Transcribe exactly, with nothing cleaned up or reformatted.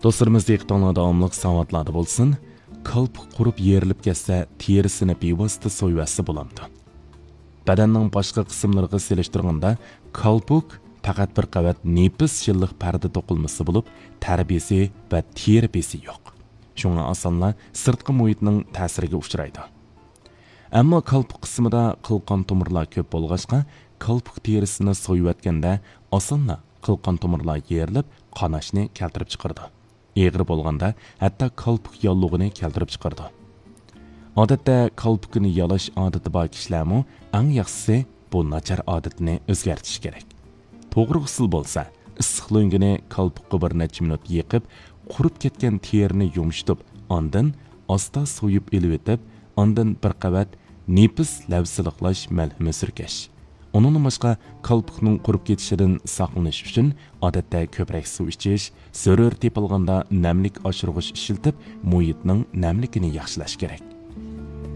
دوستلىرىمىز، دىققىتىڭلار داۋاملىق ساۋاتلاردا بولسۇن. كالپۇك قۇرۇپ يېرىلىپ كەتسە، تېرىسىنى بىۋاسىتە سويۇۋەتسە بولامدۇ؟ بەدەننىڭ باشقا قىسىملىرىغا سېلىشتۇرغاندا، كالپۇك پەقەت بىر قەۋەت نېپىز شىللىق پەردە توقۇلمىسى بولۇپ، تەر بېزى ۋە تېرە بېزى يوق. شۇڭا ئاسانلا سىرتقى مۇھىتنىڭ تەسىرىگە ئۇچرايدۇ. ئەمما كالپۇك قىسمىدا قىلقان تومۇرلار كۆپ بولغاچقا، كالپۇك تېرىسىنى سويۇۋەتكەندە ئاسانلا قىلقان تومۇرلار يېرىلىپ، قاناشنى كەلتۈرۈپ چىقىرىدۇ. ئېغىر بولغاندا ھەتتا كالپۇك ياللۇغىنى كەلتۈرۈپ چىقىرىدۇ. ئادەتتە كالپۇكىنى يالاش ئادىتى بار كىشىلەرمۇ ئەڭ ياخشىسى بۇ ناچار ئادىتىنى ئۆزگەرتىشى كېرەك. توغرا ئۇسۇل بولسا، ئىسسىق لۆڭگىنى كالپۇكقا بىر نەچچە مىنۇت يېقىپ، قۇرۇپ كەتكەن تېرىنى يۇمشىتىپ، ئاندىن ئاستا سويۇپ ئېلىۋېتىپ، ئاندىن بىر قەۋەت نېپىز لەۋ سىلىقلاش مەلھىمى سۈركەش. ئۇنىڭدىن باشقا، كالپۇكنىڭ قۇرۇپ كېتىشىدىن ساقلىنىش ئۈچۈن، ئادەتتە كۆپرەك سۇ ئىچىش، زۆرۈر تېپىلغاندا نەملىك ئاشۇرغۇچ ئىشلىتىپ، مۇھىتنىڭ نەملىكىنى ياخشىلاش كېرەك.